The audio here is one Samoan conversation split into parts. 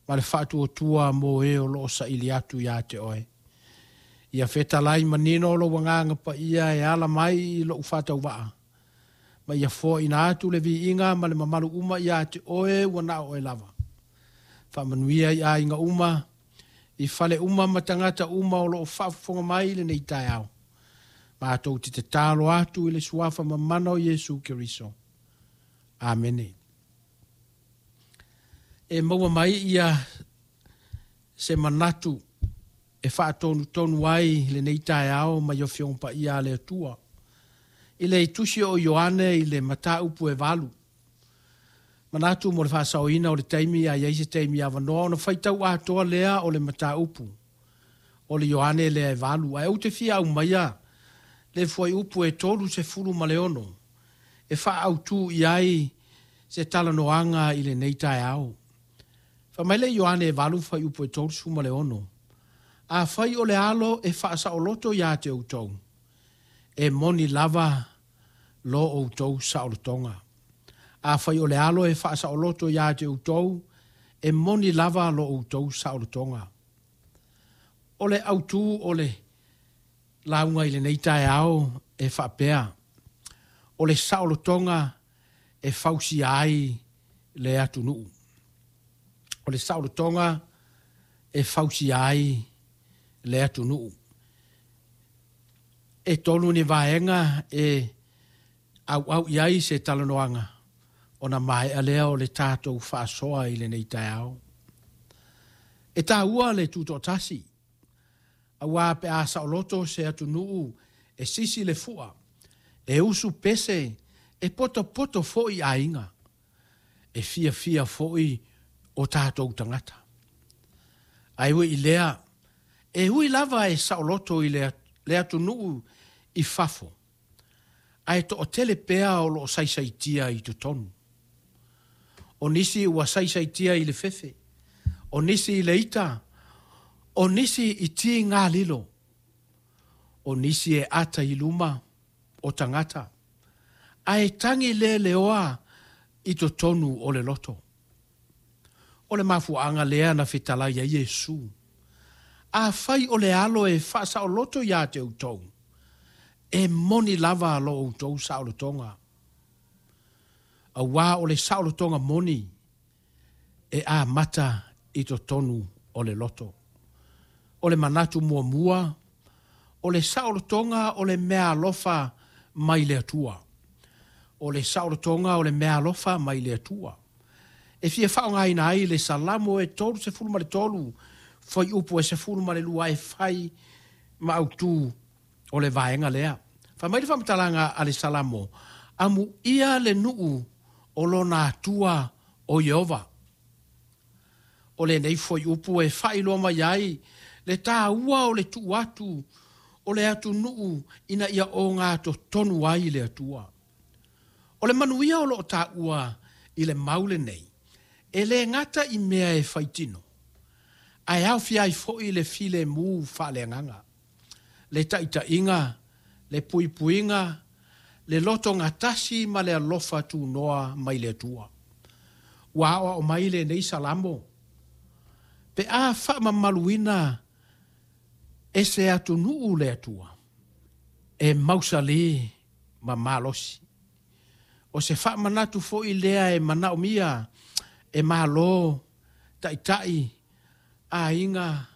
ma le faatuatua mo e o lo o saili atu ia te oe. Ia fetalai manino lou Agaga Paia e ala mai i lou faatauvaa, ma ia foaina atu le viiga ma le mamalu uma ia te oe ua na o oe lava. Faamanuia i aiga uma, i fale uma ma tagata uma o lo o faafofoga mai i lenei taeao. Matou te tatalo atu i le suafa mamana o Iesu Keriso. Amene. E maua mai ia se manatu e faatonutonu ai lenei taeao mai Afioga Paia a le Atua. I le tusi o Ioane i le mataupu e 8. Manatu mo le faasaoina o le taimi a i ai se taimi avanoa ona faitau atoa lea o le mataupu o le Ioane lea e 8. Ae ou te fia aumaia le fuaiupu e 36 e faaautu i ai se talanoaga i lenei taeao. Fai mai le Ioane e 8 fuaiupu e 36, Afai o le alo e faasaoloto ia te outou, e moni lava lo outou saolotoga. Afai o le alo e faasaoloto ia te outou, e moni lava lo outou saolotoga. O le autu o le lauga i lenei taeao e faapea, o le saolotoga e fausia ai le atunuu. O le saolotoga e fausia ai le atunuu. E tolu ni vaega e auau i ai se talanoaga ona maea lea o le tatou faasoa i lenei taeao. E taua le tutoatasi, auā pe a saoloto se atunuu e sisi le fua, e usu pese, e potopoto foi aiga, e fiafia foi o tatou tagata. Ae ui i lea, e ui lava e saoloto i le atunuu i fafo, ae toatele pea o lo o saisaitia i totonu. O nisi ua saisaitia i le fefe, o nisi i le ita, o nisi i tigalilo, o nisi e ata i luma o tagata, ae tagi leleoa i totonu o le loto. O le mafuaaga lea na fetalai ai Iesu, Afai o le alo e faasaoloto ia te outou, e moni lava lo outou saolotoga. Auā o le saolotoga moni e amata i totonu o le loto. O le manatu muamua, o le saolotoga o le meaalofa mai le Atua. O le saolotoga o le meaalofa mai le Atua. E fia faaaogaina ai le Salamo e 33 fuaiupu e 12 e fai ma autu o le vaega lea. Fai mai le faamatalaga a le Salamo, Amuia le nuu o lona Atua o Ieova. O lenei fuaiupu e faailoa mai ai le taua o le tuu atu o le atunuu ina ia ogatotonu ai le Atua. O le manuia o lo o taua i le mau lenei, e le gata i mea e faitino, ae aofia ai foi le filemu faaleagaga, le taitaiga, le puipuiga, le lotogatasi ma le alofa tunoa mai le Atua. Ua aoao mai lenei Salamo, pe a faamamaluina e se atunuu le Atua, e mausali ma malosi. O se faamanatu foi lea e manaomia e Malo, taitai, aiga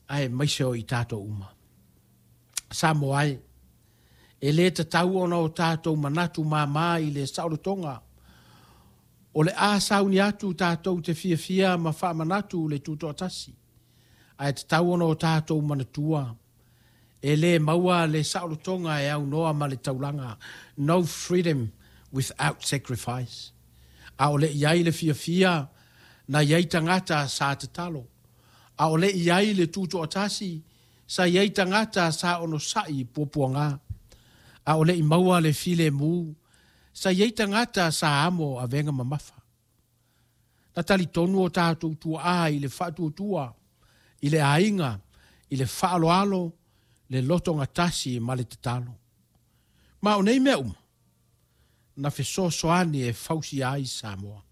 aemaise o i tatou uma. Samoa e, e le tatau ona o tatou manatu māmā i le saolotoga. O le a sauni atu tatou te fiafia ma faamanatu le tutoatasi, ae tatau ona o tatou manatua e le maua le saolotoga e aunoa ma le taulaga, no freedom without sacrifice. A o le i ai le fiafia, na i ai tagata sa tatalo. A o le i ai le tutoatasi, sa i ai tagata sa onosai i puapuaga. A o le i maua le filemu, sa i ai tagata sa amo avega mamafa. Na talitonu o tatou tuaa i le faatuatua, i le aiga, i le faaaloalo, le lotogatasi ma le tatalo. Ma o nei mea uma, na fesoasoani e fausia ai Samoa.